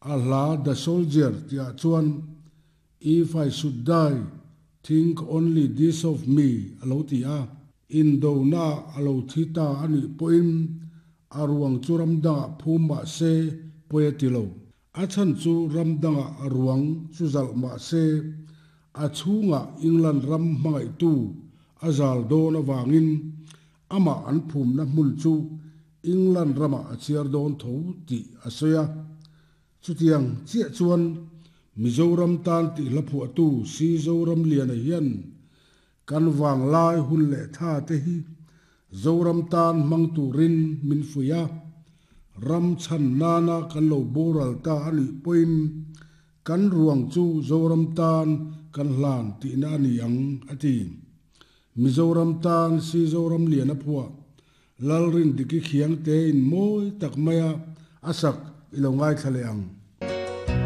A hla The Soldier tihah chuan If I should die, think only this of me a lo ti a. Indonaah a lo thi ta a nih pawhin a ruang chu ram dangah phum mah se pawi a ti lo. A chhan chu ram dangah a ruang chu zalh mah se a chhungah England ram hmangaihtu a zal dawn avangin amah an phumna hmun chu England ramah a chhiar dawn tho tih a sawi a. Chutiang chiah chuan Mizoram tan tih hla phuahtu Si Zoramliana hian kan vanglai hun leh tha te hi Zoram tan hmang turin min fuih a, ram chhan nana kan lo boral ta a nih pawhin kan ruang chu Zoram tan kan hlan tihna a ni ang, a ti. Mizoram tan Si Zoramliana phuah Lalrindiki Khiangte in mawi tak maia a sak i lo ngaithla leh ang.